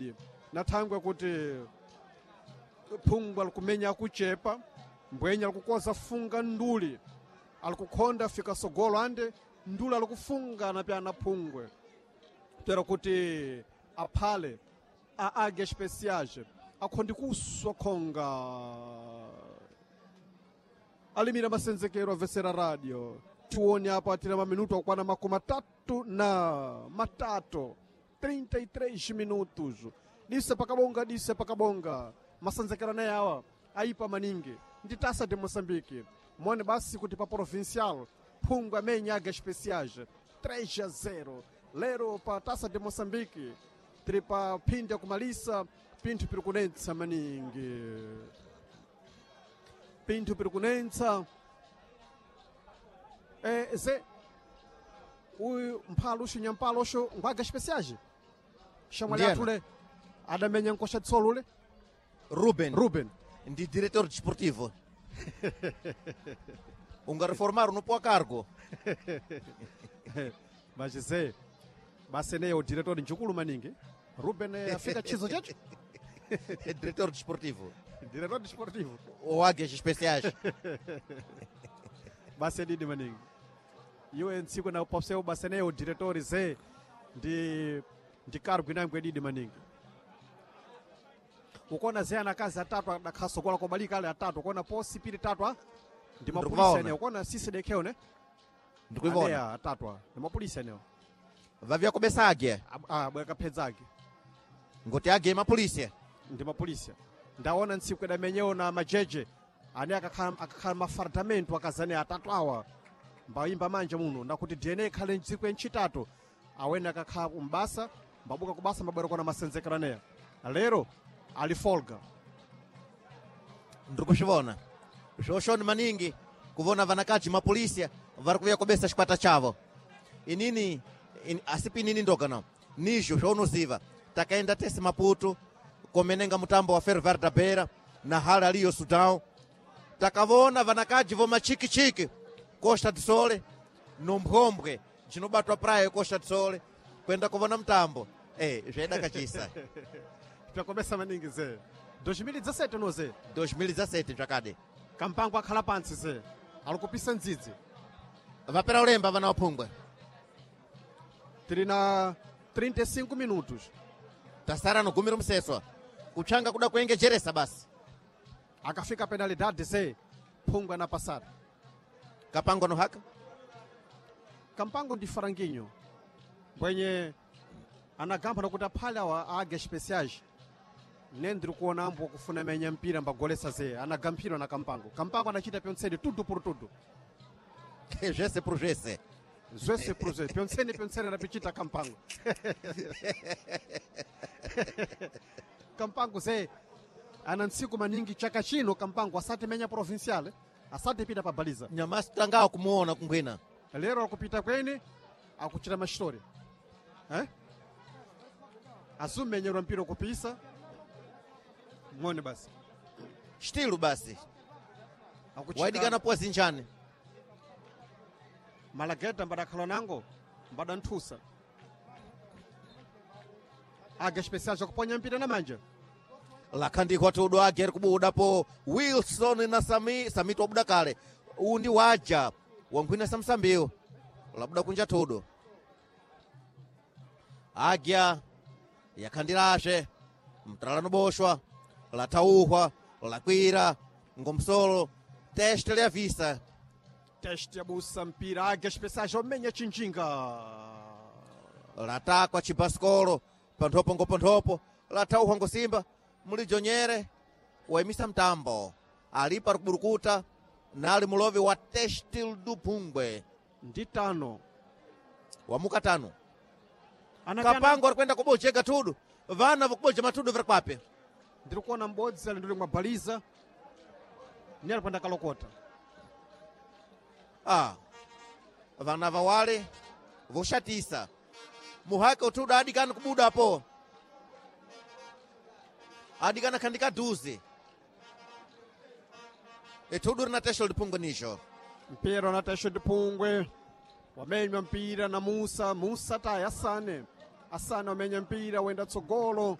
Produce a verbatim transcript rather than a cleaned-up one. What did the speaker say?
Didi nathangwe kuti phungwe alikumenya akuchepa mbwenya alikukoza funga nduli alikukhonda fika sogolo ande nduli alikufunga napyana phungwe tera kuti aphale a águia especiais akhondi kuswa khonga alimira masenzekero avesera radio tione apa tira maminuto akwana makumi atatu na matatu trinta e três minutos. Dise pakabonga, dise pakabonga, masenzekero anaye awa aipa maningi ndi Taça de Moçambique. Mone basi kuti pa provincial phungwe amenya águia especiais três a zero. Lero pa Taça de Moçambique tiri pa phindi yakumalisa. Pinthu piri kunetsa maningi, pinthu piri kunetsa. eh, ze uyu mphalo uxo nyampalo uxo ngwaga especiais xamwali Ndiena. athule adamenya nkoxa tsolo ule. Ruben. Ruben. Ndi diretor desportivo. Unga reformar no pôr cargo. Mas ze basi eneyo o diretor njukulu maningi Ruben, eh, afika chizo chacho. Diretor desportivo. Diretor desportivo. Ou Águias Especiais. Basi edidi maningi iwe ntsiku na popseu basi eneyo o diretor ze ndi ndi cargo inango edidi maningi. Ukona ze anakazi atatu adakhasokola kobalika ale atatu, ukona posi pili tatu a ndi mapulisa. Ndikuvaona. Eneyo ukona sisi dekheo ne. Ndikuivona. Aneya atatu a ndi mapulisa eneyo. Vavia kubesa águia. Bwekapedza ake. Ngoti águia é mapolícia. Ndi mapulisa ndaona ntsiku idamenyewo na majeje ane akakhala akakhala mafardamento akazane atatu awa mbayimba manja muno ndakuti D N A ikhale ntsiku yenchitatu awene akakhala kumbasa mbabuka kubasa mbabwera kona masenzekero aneya lero ali folga. Ndikuxivona. Xoxoni maningi kuvona vanakaji mapolícia vari kuvuya kubesa xikwata chavo. Inini in, asipi inini ndoga não. Nijo zvonoziva. Takaenda tese Maputo komenenga mutambo wa Ferroviário da Beira na hala aliyo Sudão. Takavona vanakaji vo machikichiki Costa do Sole no Mphombe cinobatwa praia Costa do Sole kwenda kuvona mutambo. Eh, zvaidakachisa. Pyakomesa maningi ze dois mil e dezessete no ze. dois mil e dezessete zvakade. Kampango akhala pantsi ze alikupisa ndzidzi. Vapera ulemba vana waphungwe. Tili na trinta e cinco minutos. Tasara no gumi romuseswa kutsvanga kuda kuengejeresa basi. Akafika penalidade ze phungwe anapasada. Kapango no haka. Kampango ndi faranguinho mbwenye anagamba nakuti aphale awa águia especiais ne ndiri kuona ambo kufuna menya mpira mbagolesa ze anagamphirwa na Kampango. Kampango anachita pyontsene tudo por tudo. Zvese por zvese. Zvese por zvese, pyontsene pyontsene anapichita Kampango. Kampango ze ana ntsiku maningi chaka chino Kampango asati menya provincial, asati pita pa baliza. Nyamasi tangawo kumuona kungwina. Lero akupita kwene akuchita mashitori, eh? Azumenyerwa mpira kupisa ng'one basi. Xitilu basi. Akuchita- Waidikana puwa zinjani. Malageta mbadakhala nango mbadanthusa águia especial zakuponya mpira na manja. Lakhandikwa tudo age ari kubuda po Wilson na Sami. Samito wabuda kale. Uwu ndi waja wankhwina samsambiwo labuda kunja tudo agya yakhandilashe mtalano boshwa lathauhwa lakwira ngomsolo teste lyavisa. Teste abusa mpira águia especial omenya chinjinga. Latakwa chibasikolo panthopo ngoponthopo lathauhwa ngosimba mulijonyere waimisa mtambo alipo ari kuburukuta nali mulovi wa Testil do Pungwe. Ndi tano. Wamuka tano. Anakana- Kapango ari kwenda kubojega tudu vana vakuboja matudu vari kwape. Ndiri kuona m'bodzi ali ndili mwabaliza ni ali kwenda kalokota. Ah, vana vawale voxatisa muhaka utudu adikana kubuda apo adikana khandika duze itudu rina Testil do Pungwe nijo. Mpira na Tesho Dipungwe wamenywa mpira na Musa. Musa tayi Asane. Asane wamenya mpira wenda tsogolo.